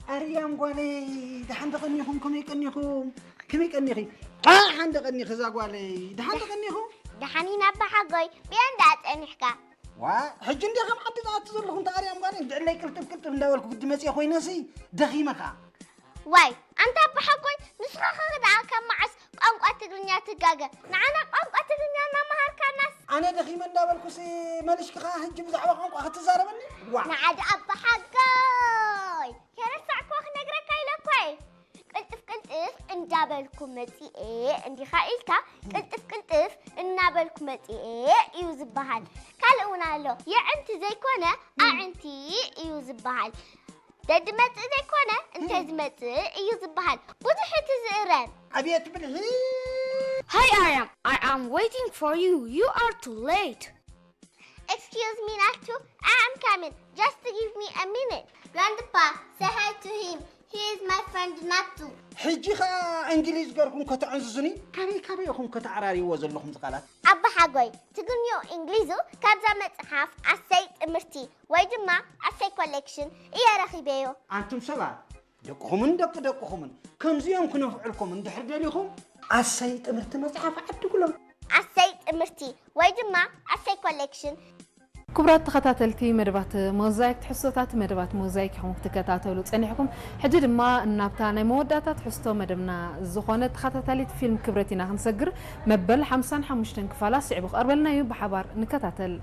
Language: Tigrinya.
ኣርያም ጓለይ፣ ደሓን ደቐኒኹም? ከመይ ቀኒኹም? ከመይ ቀኒኺ? ደሓን ደቐኒኺ እዛ ጓለይ፣ ደሓን ደቐኒኹም? ደሓን ኢና ኣባሓጎይ፣ ብየንዳ ጸኒሕካ? ዋ፣ ሕጂ እንደ ከም ዓዲ ዝኣቱ ዘለኹ እንተ ኣርያም ጓለይ፣ እንድዕለይ ቅልጥፍ ቅልጥፍ እንዳበልኩ ግዲ መጽየ ኮይነሲ፣ ደኺመ ከኣ። ዋይ ኣንታ ኣባሓጎይ፣ ንስኻ ኸ ደኣ ካብ መዓስ ቋንቋ ትግርኛ ትጋገ? ንዓና ቋንቋ ትግርኛ እናመሃርካናስ። ኣነ ደኺመ እንዳበልኩሲ፣ መሊሽኪ ከኣ ሕጂ ብዛዕባ ቋንቋ ክትዛረበኒ? ዋ። ንዓዲ ኣባሓጎይ፣ ከረሳዕኩዋ ክነግረካ ኢለ እኮ እየ። ቅልጥፍ ቅልጥፍ እንዳበልኩ መጺኤ እንዲኻ ኢልካ፣ ቅልጥፍ ቅልጥፍ እናበልኩ መጺኤ እዩ ዝበሃል። ካልእ እውን ኣሎ። የዕንቲ ዘይኮነ ኣዕንቲ እዩ ዝበሃል። ደድመጽእ ዘይኮነ እንተ ዝመጽእ እዩ ዝበሃል። ብዙሕ እቲ ዝእረም። ኣቤት ብልሒ! Hi, Aryam. I am waiting for you. You are too late. Excuse me, Natsu. I am coming. Just give me a minute. Grandpa, say hi to him. He is my friend Natsu. ሕጂ ኸኣ እንግሊዝ ገርኩም ከተዕንዝዙኒ? ካበይ ካበይ ኢኹም ከተዓራርይዎ ዘለኹም ዝቓላት? ኣባሓጎይ፣ ትግርኛኡ እንግሊዙ ካብዛ መጽሓፍ ኣሰይ ጥምርቲ ወይ ድማ ኣሰይ ኮሌክሽን እየ ረኺበዮ። ኣንቱም ሰባት፣ ደቅኹምን ደቂ ደቅኹምን ከምዚኦም ክነፍዕልኩም እንድሕር ደሊኹም፣ ኣሰይ ጥምርቲ መጽሓፍ ዓድጉሎም። ኣሰይ ጥምርቲ ወይ ድማ ኣሰይ ኮሌክሽን። ክቡራት ተኸታተልቲ መደባት ሞዛይክ፣ ትሕዝቶታት መደባት ሞዛይክ ኢኹም ክትከታተሉ ጸኒሕኩም። ሕጂ ድማ እናብታ ናይ መወዳእታ ትሕዝቶ መደብና ዝኾነ ተኸታታሊት ፊልም ክብረት ኢና ክንሰግር። መበል ሓምሳን ሓሙሽተን ክፋላ ስዒቡ ክቐርበልና እዩ። ብሓባር ንከታተል።